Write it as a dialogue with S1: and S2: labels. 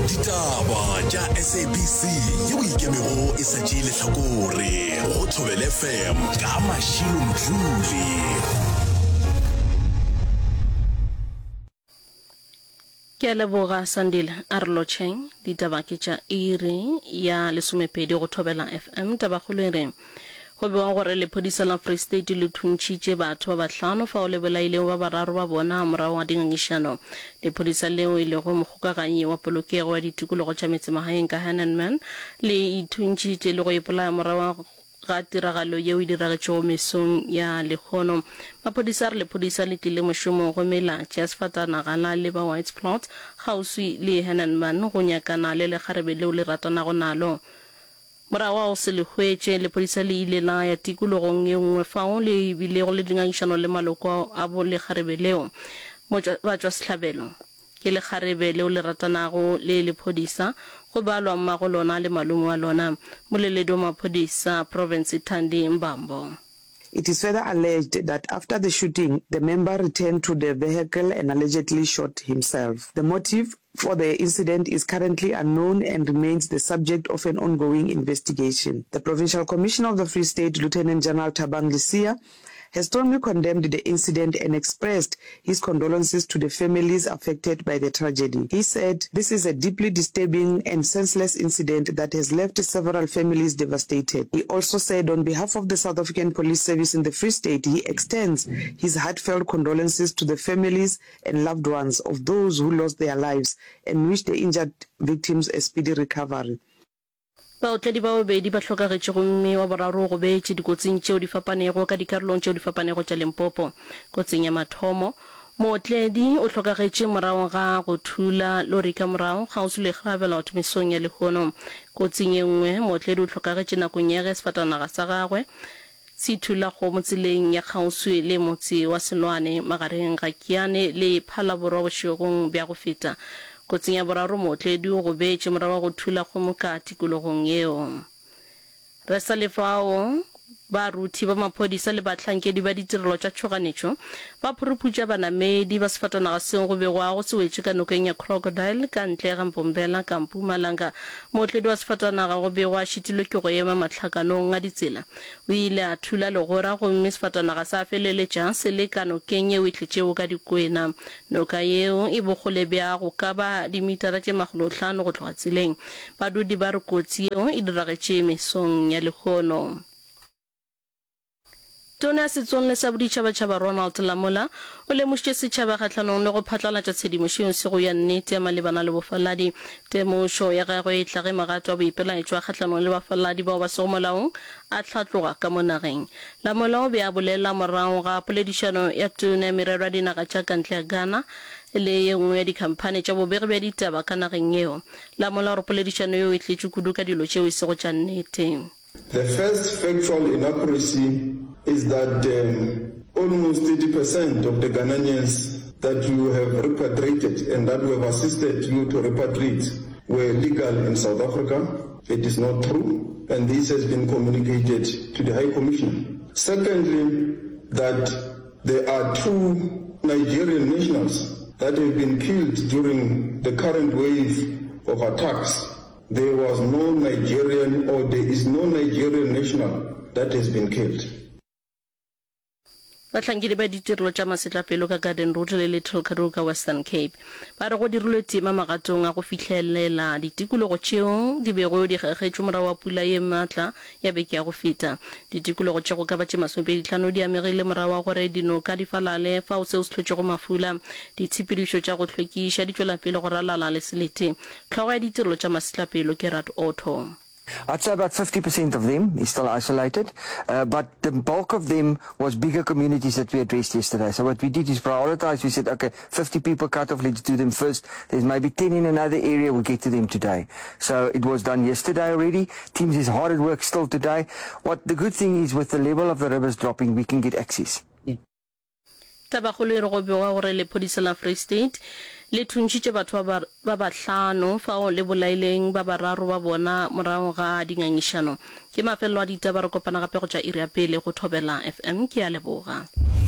S1: Ditaba tša SABC yeo e ikemego e sa tšee lehlakore go Thobela FM ka Mashilo Mdluli.
S2: Ke a leboga Sandile, a re lotšheng. Ditaba ke tša iri ya lesomepedi go Thobela FM. Tabakgolo e re go bewa gore lephodisa la Free State le thuntšhitše batho ba bahlano fao le bolailego ba bararo ba bona morago ga dingangišano. Lephodisa leo e lego mokgokaganyi wa polokego ya ditikologo tša metsemagaeng ka Hennenman le ithuntšhitše le go ipolaya morago ga tiragalo yeo e diragetšego mesong ya lehono. Maphodisa a re lephodisa le tlile mošomong gomme la tšea sefatanaga la leba Whites Plot kgauswi le Hennenman go nyakana le lekgarebe leo le ratanago nalo. Morago ga go se le hwetše, lephodisa le ile la ya tikologong ye nngwe fao le bilego le dingangišano le maloko a bo lekgarebe leo. Batšwasehlabelo ke lekgarebe leo le ratanago le lephodisa, go balwa mmago lona le malome wa lona. Moleledi wa maphodisa profense Thandi Mbambo.
S3: It is further alleged that after the shooting, the member returned to the vehicle and allegedly shot himself. The motive for the incident is currently unknown and remains the subject of an ongoing investigation. The Provincial Commissioner of the Free State, Lieutenant General Thabang Lesia, has strongly condemned the incident and expressed his condolences to the families affected by the tragedy. He said, This is a deeply disturbing and senseless incident that has left several families devastated. He also said on behalf of the South African Police Service in the Free State, he extends his heartfelt condolences to the families and loved ones of those who lost their lives and wish the injured victims a speedy recovery.
S2: Baotledi ba babedi ba hlokagetše gomme wa boraro o gobetše dikotsing tšeo di fapanego ka dikarolong tšeo di fapanego tša Limpopo. Kotsing ya mathomo, mootledi o hlokagetše morago ga go thula lori ka morago kgauswi le Gravelotte mesong ya lehono. Kotsing ye nngwe, mootledi o hlokagetše nakong ya ge sefatanaga sa gagwe se thula kgomo tseleng ya kgauswi le motse wa Selwane magareng ga Kiane le Phalaborwa bošegong bja go feta. Kotsing ya boraro mootledi o gobetše morago ga go thula kgomo ka tikologong yeo. Re sa le fao, baruthi ba maphodisa le bahlankedi ba ditirelo tša tšhoganetšo ba phuruphutša banamedi ba sefatanaga seo go begwago se wetše ka nokeng ya Crocodile ka ntle ga Mbombela ka Mpumalanga. Mootledi wa sefatanaga go begwa a šitilwe ke go ema mahlakanong a ditsela. O ile a thula legora gomme sefatanaga sa feleletša se le ka nokeng yeo e tletšego ka dikwena. Noka yeo e bokgole bja go ka ba dimitara tše makgolohlano go tloga tseleng. Badudi ba re kotsi yeo e diragetše mesong ya lehono. Tona ya Setsong le sa Boditšhabatšhaba Ronald Lamola o lemošitše setšhaba kgahlanong le go phatlalatša tshedimošo yeo sego ya nnete ya malebana le bofaladi. Temošo ya gagwe e tla ge magato a boipelaetšo a kgahlanong le bafaladi bao ba sego molaong a hlatloga ka mo nageng. Lamola o be a bolela morago ga poledišano ya Tona ya Merero ya Dinaga tša ka ntle ya Ghana le ye nngwe ya dikhamphani tša bobegi bja ditaba ka nageng yeo. Lamola o re poledišano yeo e tletše kudu ka dilo tšeo e sego tša nnete.
S4: The first factual inaccuracy is that um, almost 30% of the Ghanaians that you have repatriated and that we have assisted you to repatriate were legal in South Africa. It is not true, and this has been communicated to the High Commissioner. Secondly, that there are two Nigerian nationals that have been killed during the current wave of attacks. There was no Nigerian or there is no Nigerian national that has been killed.
S2: Bahlankedi ba ditirelo tša masetlapelo ka Garden Route le Little Karoo ka Western Cape ba re go dirilwe tema magatong a go fihlelela ditikologo tšeo di bego di kgekgetšwe morago ga pula ye maatla ya beke ya go feta. Ditikologo tše go ka ba tše masomepeditlhano di amegile morago ga gore dinoka di falale fao seo se hlotšego mafula. Ditshepedišo tša go hlwekiša di tšwela pele go ralala le selete. Hlogo ya ditirelo tša masetlapelo Gerard Otto.
S5: I'd say about 50% of them is still isolated, uh, but the bulk of them was bigger communities that we addressed yesterday. So what we did is prioritize. We said, okay, 50 people cut off, let's do them first. There's maybe 10 in another area, we'll get to them today. So it was done yesterday already. Teams is hard at work still today. What the good thing is with the level of the rivers dropping, we can get access.
S2: Tabakgolo e re go begwa gore lephodisa la Free State le thuntšhitše batho ba ba bahlano fao le bolaileng ba bararo ba bona morago ga dingangišano. Ke mafelelo a ditaba, re kopana gape go tša iri ya pele go Thobela FM. Ke a leboga.